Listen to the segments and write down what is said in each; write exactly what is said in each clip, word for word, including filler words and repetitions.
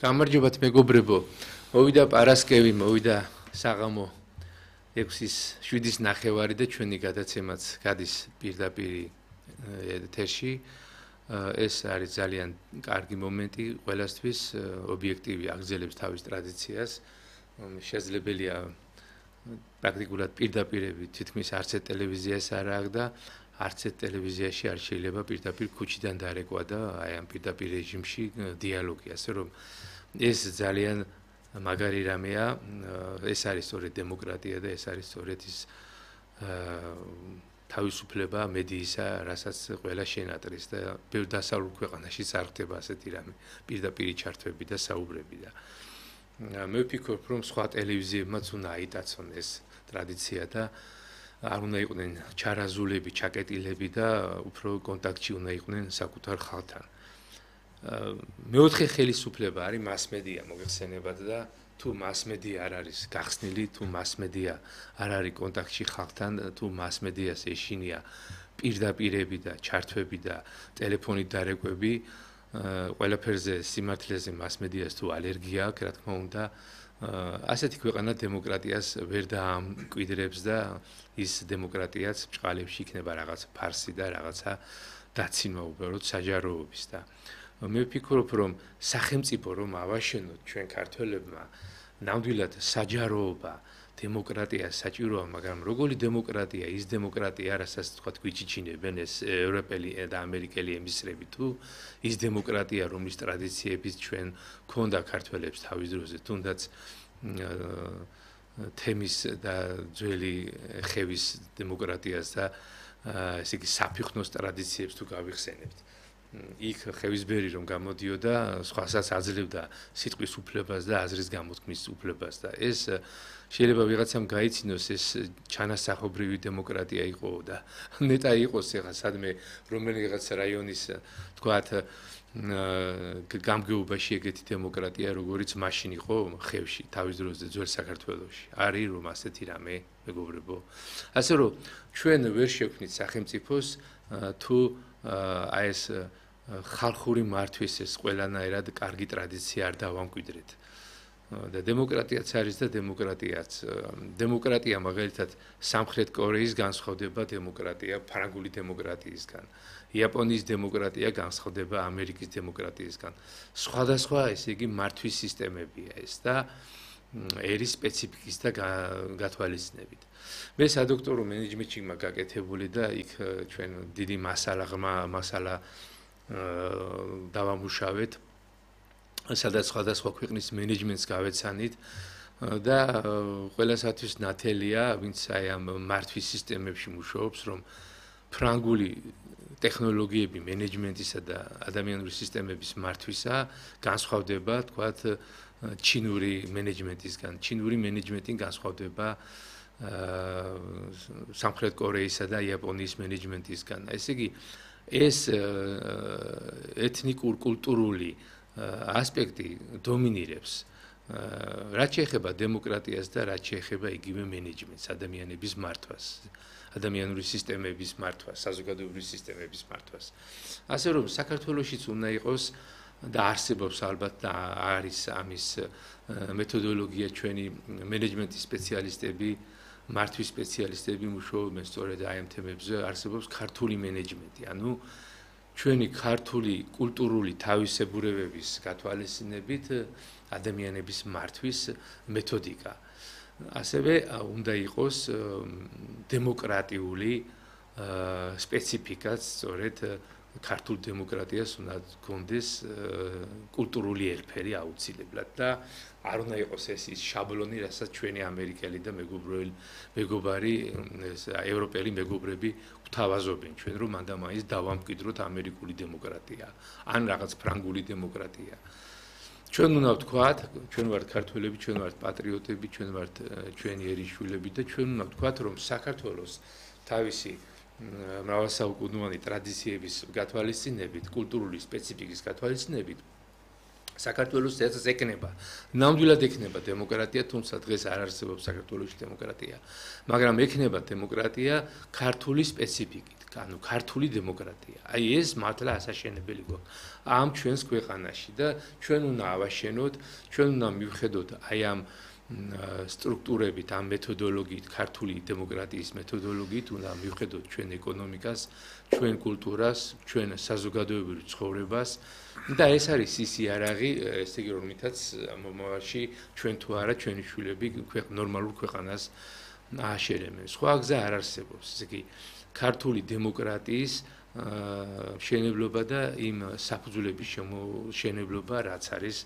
გამარჯობათ მეგობრებო, მოვიდა პარასკევი, მოვიდა საღამო ექვსის შვიდის ნახევარი და ჩვენი გადაცემაც გადის პირდაპირ ეთერში. ეს არის ძალიან კარგი მომენტი ყველასთვის, ობიექტივი აგრძელებს თავის ტრადიციას. შესაძლებელია პრაქტიკულად პირდაპირები თითქმის არც ერთ ტელევიზიას არ აქვს და არც ერთ ტელევიზიაში არ შეიძლება პირდაპირ ქუჩიდან დარეკვა და აი ამ პირდაპირ რეჟიმში დიალოგი, ასე რომ ეს ძალიან მაგარი რამეა, ეს არის სწორედ დემოკრატია და ეს არის სწორედ ის თავისუფლება მედიისა, რასაც ყველა შენატრის და ბევრ დასავლურ ქვეყანაში არ ხდება ასეთი რამე, პირდაპირ ჩართვები და საუბრები და მე ვფიქრობ, რომ სხვა ტელევიზიებმაც უნდა აიტაცონ ეს ტრადიცია და არ უნდა იყვნენ ჩარაზულები, ჩაკეტილები და უფრო კონტაქტში უნდა იყვნენ საკუთარ ხალხთან. მეოთხე ხელისუფლება არის მასმედია მოგეხსენებათ და თუ მასმედია არ არის გახსნილი, თუ მასმედია არ არის კონტაქტში ხალხთან, თუ მასმედიას ეშინია პირდაპირები და ჩართვები და ტელეფონით დარეკვები, ყველაფერზე სიმართლეზე მასმედიას თუ ალერგია აქვს, რა თქმა უნდა, ასეთი ქვეყანა დემოკრატიას ვერ დაამკვიდრებს და ის დემოკრატიაც ბჭყალებში იქნება რაღაც ფარსი და რაღაცა დაცინვა უბრალოდ საჯაროობის და მე ვფიქრობ, რომ სახელმწიფო რომ ავაშენოთ ჩვენ ქართველებმა ნამდვილად საჯაროობა, დემოკრატია საჭიროა, მაგრამ როგორი დემოკრატია, ის დემოკრატია, რასაც თქვა გვიჩიჩინებენ ეს ევროპელი და ამერიკელი ემისრები თუ ის დემოკრატია, რომლის ტრადიციებიც ჩვენ ქონდა ქართველებს თავის დროზე, თუნდაც თემის და ძველი ხევის დემოკრატიას და ესე იგი საფიხნოს ტრადიციებს თუ გავიხსენებთ. იქ ხევისბერი რომ გამოდიოდა, სხვასაც აძლევდა სიტყვის უფლებას და აზრის გამოთქმის უფლებას და ეს შეიძლება ვიღაცამ გაიცინოს ეს ჩანასახობრივი დემოკრატია იყო და ნეტა იყოს ეხა სადმე რომელიღაც რაიონის თქვათ გამგეობაში ეგეთი დემოკრატია როგორიც მაშინ იყო ხევში თავის დროზე ძველ საქართველოში არის რომ ასეთი რამე მეგობრებო ასე რომ ჩვენ ვერ შევქმნით სახელმწიფოს თუ აი ეს ხალხური მართვის ეს ყველანაირად კარგი ტრადიცია არ დავამკვიდრეთ და დემოკრატიაც არის და დემოკრატიაც დემოკრატია მაგალითად სამხრეთ კორეის განსხვავდება დემოკრატია ფრანგული დემოკრატიისგან იაპონიის დემოკრატია განსხვავდება ამერიკის დემოკრატიისგან სხვადასხვა ესე იგი მართვის სისტემებია ეს და ერის სპეციფიკის და გათვალისწინებით მე სადოქტორო მენეჯმენტში მაგაკეთებული და იქ ჩვენ დიდი მასალა ღრმა მასალა დავამუშავეთ სადაც სხვადასხვა ქვეყნის მენეჯმენტს გავეცანით და ყველასათვის ნათელია ვინც აი ამ მართვის სისტემებში მუშაობს რომ ფრანგული ტექნოლოგიები მენეჯმენტისა და ადამიანური სისტემების მართვისა განსხვავდება თქვათ ჩინური მენეჯმენტისგან ჩინური მენეჯმენტი განსხვავდება სამხრეთ კორეისა და იაპონიის მენეჯმენტისგან ესე იგი ეს ეთნიკურ კულტურული ასპექტი დომინირებს რაც შეეხება დემოკრატიას და რაც შეეხება იგივე მენეჯმენტს ადამიანების მართვას ადამიანური სისტემების მართვას საზოგადოებრივი სისტემების მართვას ასე რომ საქართველოშიც უნდა იყოს და არსებობს ალბათ და არის ამის მეთოდოლოგია ჩვენი მენეჯმენტის სპეციალისტები მართვის სპეციალისტები მუშაობენ სწორედ აი ამ თემებზე არსებობს ქართული მენეჯმენტი ანუ ჩვენი ქართული კულტურული თავისებურებების გათვალისწინებით ადამიანების მართვის მეთოდიკა ასევე უნდა იყოს დემოკრატიული სპეციფიკაც სწორედ ქართულ დემოკრატიას უნდა გქონდეს კულტურული ელფერი აუცილებლად და არ უნდა იყოს ეს ის შაბლონი, რასაც ჩვენი ამერიკელი და მეგობრული მეგობარი ევროპელი მეგობრები გვთავაზობენ ჩვენ რომ მანდა მაინც დავამკვიდროთ ამერიკული დემოკრატია ან რაღაც ფრანგული დემოკრატია. ჩვენ უნდა ვთქვათ, ჩვენ ვართ ქართველები, ჩვენ ვართ პატრიოტები, ჩვენ ვართ ჩვენი ერისშვილები და ჩვენ უნდა ვთქვათ რომ საქართველოს თავისი მრავალსაუკუნოვანი ტრადიციების გათვალისწინებით, კულტურული სპეციფიკის გათვალისწინებით საქართველოს წესს ეკნება. ნამდვილად ეკნება დემოკრატია, თუმცა დღეს არ არსებობს საქართველოში დემოკრატია. მაგრამ ეკნება დემოკრატია ქართული სპეციფიკით, ანუ ქართული დემოკრატია. აი ეს მართლა ასაშენებელი გვაქვს ამ ჩვენს ქვეყანაში და ჩვენ უნდა ავაშენოთ, ჩვენ უნდა მივხედოთ აი ამ სტრუქტურებით, ამ მეთოდოლოგიით, ქართული დემოკრატიის მეთოდოლოგიით უნდა მივხედოთ ჩვენ ეკონომიკას, ჩვენ კულტურას, ჩვენ საზოგადოებრივ ცხოვრებას და ეს არის ის იარაღი, ესე იგი რომლითაც მომავალში ჩვენ თუ არა ჩვენი შვილები ნორმალურ ქვეყანას ააშენებენ. სხვა გზა არ არსებობს. ესე იგი ქართული დემოკრატიის მშენებლობა და იმ საფუძვლების შემოშენებლობა, რაც არის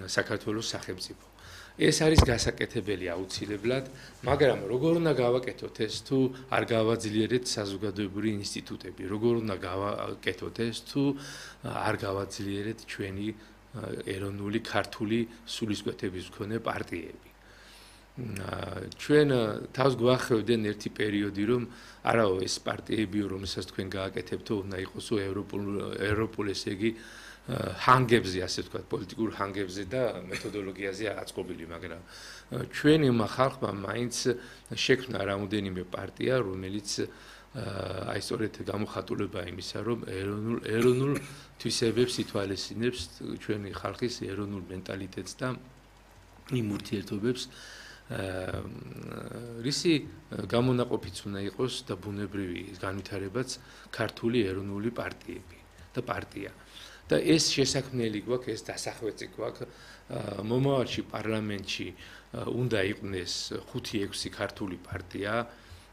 საქართველოს სახელმწიფო. ეს არის გასაკეთებელი აუცილებლად, მაგრამ როგორ უნდა გავაკეთოთ ეს თუ არ გავაძლიერეთ საზოგადოებრივი ინსტიტუტები, როგორ უნდა გავაკეთოთ ეს თუ არ გავაძლიერეთ ჩვენი ეროვნული ქართული სულისკვეთების მქონე პარტიები. ჩვენ თავს გვახევდნენ ერთი პერიოდი, რომ არაო ეს პარტიები, რომელსაც თქვენ გააკეთებთო, უნდა იყოსო ევროპულ ევროპულ ესე იგი ჰანგებზე, ასე ვთქვათ, პოლიტიკურ ჰანგებზე და მეთოდოლოგიაზე აწყობილი, მაგრამ ჩვენმა ხალხმა მაინც შექმნა რამოდენიმე პარტია, რომელიც აი სწორედ გამოხატულება იმისა, რომ ეროვნულ ეროვნულ თვისებებს ითვალისწინებს ჩვენი ხალხის ეროვნულ მენტალიტეტს და იმ ურთიერთობებს, რისი გამონაყოფიც უნდა იყოს და ბუნებრივი განვითარებაც ქართული ეროვნული პარტიები და პარტია. და ეს შესაქმნელი გვაქვს, ეს დასახვეწი გვაქვს მომავალში პარლამენტში უნდა იყვნენ ხუთი ექვსი ქართული პარტია,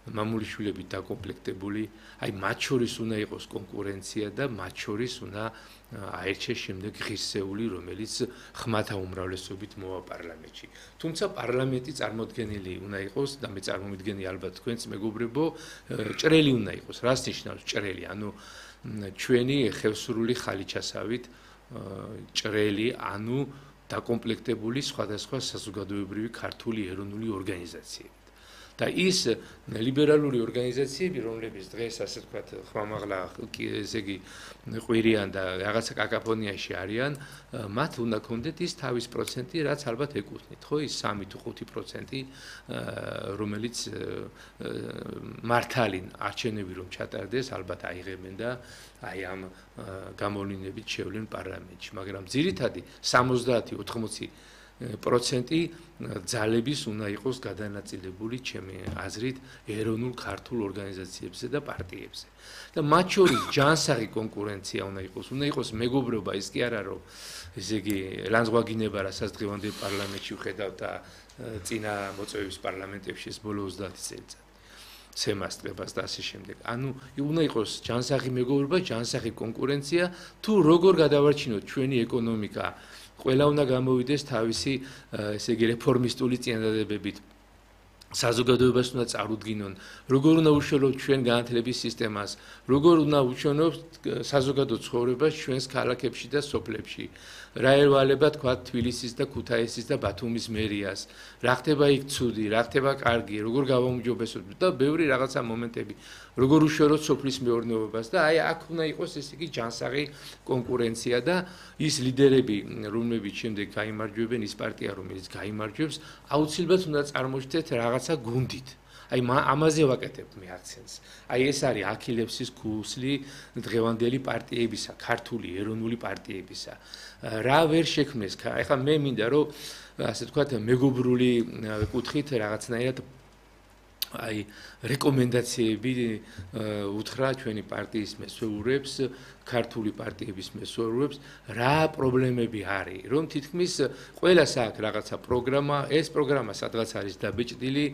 მამულიშვილებით დაკომპლექტებული, აი მათ შორის უნდა იყოს კონკურენცია და მათ შორის უნდა აერჩეს შემდეგ ღირსეული, რომელიც ხმათა უმრავლესობით მოვა პარლამენტში. თუმცა პარლამენტი წარმოდგენილი უნდა იყოს და მე წარმომიდგენი ალბათ თქვენც მეგობრებო, ჭრელი უნდა იყოს. რას ნიშნავს ჭრელი? ანუ ჩვენი ხევსურული ხალიჩასავით ჭრელი, ანუ დაკომპლექტებული სხვადასხვა საზოგადოებრივი ქართული ეროვნული ორგანიზაციებით. და ის ლიბერალური ორგანიზაციები, რომლებიც დღეს ასე ვთქვათ, ხმამაღლა, ესე იგი, ყვირიან და რაღაცა კაკაფონიაში არიან, მათ უნდა ქონდეთ ის თავის პროცენტი, რაც ალბათ ეკუთვნით, ხო, ის სამი თუ ხუთი პროცენტი, რომელიც მართალინ არჩევნები რომ ჩატარდეს, ალბათ აიღებენ და აი ამ გამოვლინებით შევლენ პარლამენტში, მაგრამ ძირითადი სამოცდაათი ოთხმოცი პროცენტი ძალების უნდა იყოს გადანაწილებული ჩემი აზრით ეროვნულ ქართულ ორგანიზაციებზე და პარტიებზე. და მათ შორის ჯანსაღი კონკურენცია უნდა იყოს, უნდა იყოს მეგობრობა, ის კი არა რომ ესე იგი ლანძღვაგინება, რასაც დღევანდელ პარლამენტში ვხედავთ და წინა მოწვევის პარლამენტებში ეს ბოლო ოცდაათი წელიწადი. სემასტრებას და ასე შემდეგ. ანუ უნდა იყოს ჯანსაღი მეგობრობა, ჯანსაღი კონკურენცია, თუ როგორ გადავარჩინოთ ჩვენი ეკონომიკა ყველა უნდა გამოვიდეს თავისი ესე იგი რეფორმისტული წინადადებებით. საზოგადოებას უნდა წარუდგინონ, როგორ უნდა უშუალოთ ჩვენ განათლების სისტემას, როგორ უნდა უშუალოთ საზოგადო ცხოვრებას ჩვენს ქალაქებში და სოფლებში. რა ერვალება თქვა თბილისის და ქუთაისის და ბათუმის მერიას, რა ხდება იქ ცუდი, რა ხდება კარგი, როგორ გავაუმჯობესოთ და ბევრი რაღაცა მომენტები, როგორ უშუალოთ სოფლის მეურნეობას და აი აქ უნდა იყოს ესე იგი ჯანსაღი კონკურენცია და ის ლიდერები, რომლებიც შემდეგ გაიმარჯვებენ, ის პარტია, რომელიც გაიმარჯვებს, აუცილებლად უნდა წარმოჩნდეთ რაღაცა გუნდით. აი ამაზე ვაკეთებ მე აქცენტს. აი ეს არის აქილევსის ქუსლი დღევანდელი პარტიებისა, ქართული ეროვნული პარტიებისა. რა ვერ შექმნეს? ეხლა მე მინდა რომ ასე ვთქვათ მეგობრული კუთხით რაღაცნაირად აი რეკომენდაციები უთხრა ჩვენი პარტიის მესვეურებს, ქართული პარტიების მესვეურებს, რა პრობლემები არის, რომ თითქმის ყველას აქვს რაღაცა პროგრამა, ეს პროგრამა სადღაც არის დაბეჭდილი,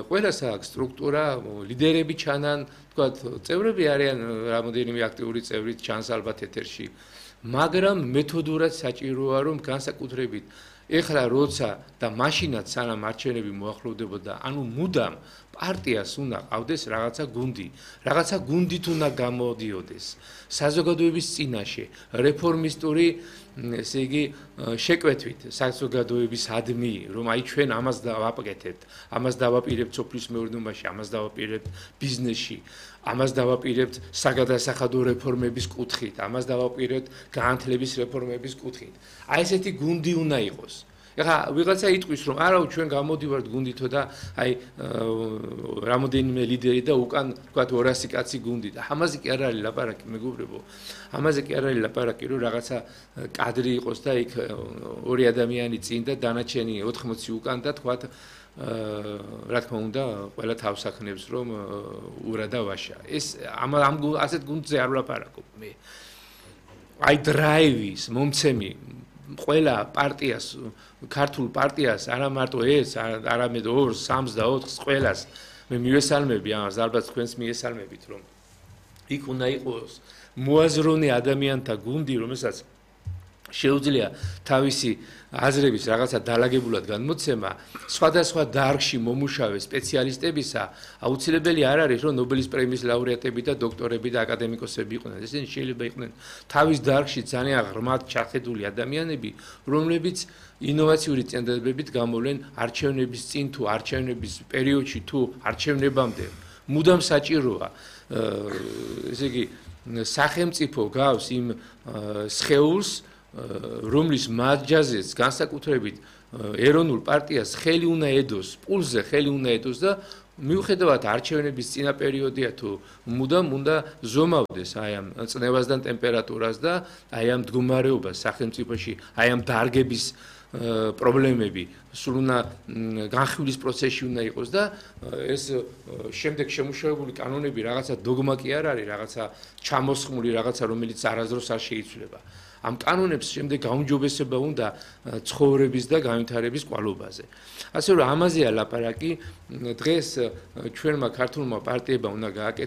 ყველას აქვს სტრუქტურა, ლიდერები ჩანან, თქვათ, წევრები არიან რამოდენიმე აქტიური წევრი ჩანს ალბათ ეთერში, მაგრამ მეთოდურად საჭიროა რომ განსაკუთრებით ეხლა როცა და მაშინაც სანამ არჩევნები მოახლოვდებოდა, ანუ მუდამ პარტიას უნდა ყავდეს რაღაცა გუნდი, რაღაცა გუნდით უნდა გამოდიოდეს საზოგადოების წინაშე, რეფორმისტური, ესე იგი, შეკვეთვით საზოგადოების ადმი, რომ აი ჩვენ ამას დავაკეთებთ, ამას დავაპირებთ სოფლის მეურნეობაში, ამას დავაპირებთ ბიზნესში. ამას დავაპირებთ საგადასახადო რეფორმების კუთხით, ამას დავაპირებთ განათლების რეფორმების კუთხით. აი ესეთი გუნდი უნდა იყოს. ეხლა ვიღაცა იტყვის რომ არა ჩვენ გამოდივართ გუნდითო და აი რამოდენიმე ლიდერი და უკან თქვათ ორასი კაცი გუნდი და ამაზე კი არ არის ლაპარაკი მეგობრებო. ამაზე კი არ არის ლაპარაკი რომ რაღაცა კადრი იყოს და იქ ორი ადამიანი წინ და დანარჩენი ოთხმოცი უკან და თქვათ რა თქმა უნდა ყველა თავს ახნებს რომ ურა და ვაშა. ეს ამ ამ ასეთ გუნდზე არ ვლაპარაკობ მე. აი დრაივის მომცემი ყველა პარტიას ქართულ პარტიას არა მარტო ეს არამედ ორს სამს და ოთხს ყველას მე მივესალმები ამას ალბათ თქვენს მიესალმებით რომ იქ უნდა იყოს მოაზროვნე ადამიანთა გუნდი რომელსაც შეუძლია თავისი აზრების რაღაცა დალაგებულად განმოცემა სხვადასხვა დარგში მომუშავე სპეციალისტებისა აუცილებელი არ არის რომ ნობელის პრემიის ლაურეატები და დოქტორები და აკადემიკოსები იყვნენ ესენი შეიძლება იყვნენ თავის დარგში ძალიან ღრმად ჩახედული ადამიანები რომლებიც ინოვაციური წინადადებებით გამოვლენ არჩევნების წინ თუ არჩევნების პერიოდში თუ არჩევნებამდე მუდამ საჭიროა ესე იგი სახელმწიფო გავს იმ სხეულს რომლის მარჯაზეც განსაკუთრებით ეროვნულ პარტიას ხელი უნდა ედოს, პულზე ხელი უნდა ედოს და მიუხედავად არჩევნების წინა პერიოდია თუ მუდამ უნდა ზომავდეს აი ამ წნევასთან ტემპერატურას და აი ამ მდგომარეობას სახელმწიფოში, აი ამ დარგების პრობლემები სულ უნდა განხილვის პროცესში უნდა იყოს და ეს შემდეგ შემუშავებული კანონები რაღაცა დოგმა კი არ არის, რაღაცა ჩამოსხმული რაღაცა რომელიც არასდროს არ შეიცვლება. ამ კანონებს შემდეგ გაუმჯობესება უნდა ცხოვრების და განვითარების კვალობაზე. ასე რომ ამაზეა ლაპარაკი დღეს ჩვენმა ქართულმა პარტიებმა უნდა გააკეთოს